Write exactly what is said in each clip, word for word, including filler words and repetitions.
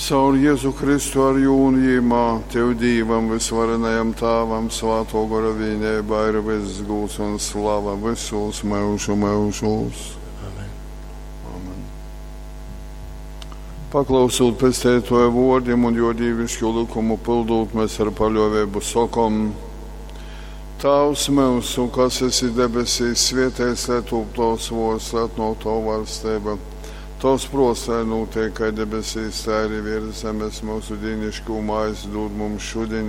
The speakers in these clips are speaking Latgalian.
Caur Jezu Kristu ar jū un jīmā, Tev Dīvam, Vysvarenajam Tāvam, Svātō Gora vīneibā ir vyss gūds un slava vysūs myužu myužūs. Amen. Amen. Paklausūt Pesteitōja vōrdim un jō dīvišķū lykumu pyldūt, mēs ar paļōveibu sokom: Tāvs myusu, kas esi debesīs, svēteits lai tūp tovs vōrds, lai atnōk tova vaļsteiba. Tovs prōts lai nūteik kai debesīs, tai arī virs zemes. Myusu dīniškū maizi dūd mums šudiņ,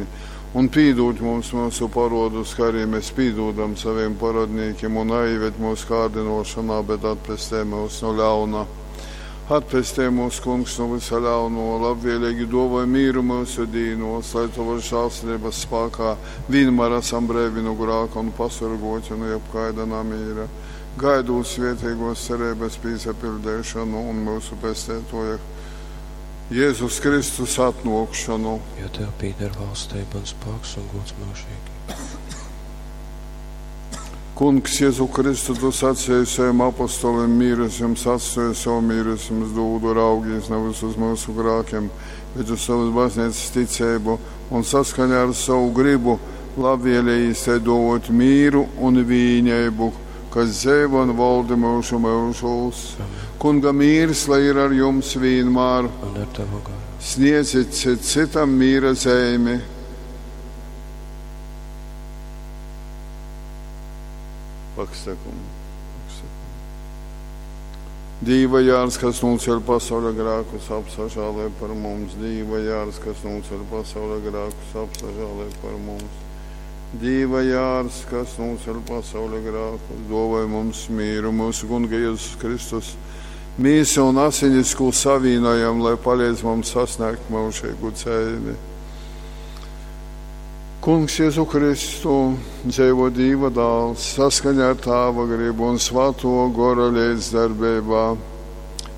un pīdūd mums myusu parodus, kā arī mēs pīdūdam saviem parodnīkiem, un naieved mūsu kārdinošanā, bet atpestē mūs no ļauna. Atpestē mūs, Kungs, no visa ļauno, labvēlīgi dāvāj mīru mūsu dīnos, lai tavas žēlsirdības spēkā vienmēr esam breivi no grāka un pasorgoti no jebkaida namīra. Gaidot svētīgos cerības pīsapildēšanu un mūsu pestētoja Jēzus Kristus atnākšanu. Jo Tev pieder valstība un spēks un gods mūžīgi. Kungs, Jēzu Kristu, tu sacīji saviem apostoliem, mīrus jums atstāju, savu mīru es jums dūdu, raugīs nevis uz mūsu grākiem, bet uz savas baznīcas ticību un saskaņā ar savu gribu labvēlējīs te dot mīru un vīņēbu, kas dzīvo un valda mūžu mūžos. Kunga mīrs, lai ir ar jums vienmēr. Un ar tavu garu. Sniedzit cit citam mīra zīmi. Pakstekum, pakstekum. Dīva jārs, kas nūceļ pasaules grēkus, apsažālē par mums. Dīva jārs, kas nūceļ pasaules grēkus, apsažālē par mums. Dīva jārs, kas nūceļ pasaules grēkus, dāvāj mums mīru, mūsu Kunga Jēzus Kristus. Mīsu un asinis, ko savīnojam, lai palīdz mums sasniegt mūžīgu dzīvi. Kungs Jēzu Kristu, dzīvo Dīva dāls, saskaņā ar Tāva gribu un Svēto Gora līdzdarbībā.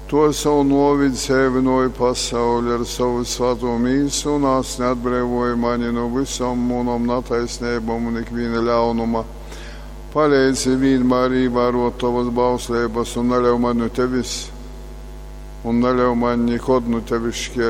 To ar savu novidu dzēvinoja pasauli, ar savu svēto mīsu un asni atbrīvoja mani no visām mūnām netaisnībām un ikviena ļaunuma. Palīdzi vienmēr ievērot tavas bauslības un neļauj man no tevis, un neļauj man nekad no tevis šķirt.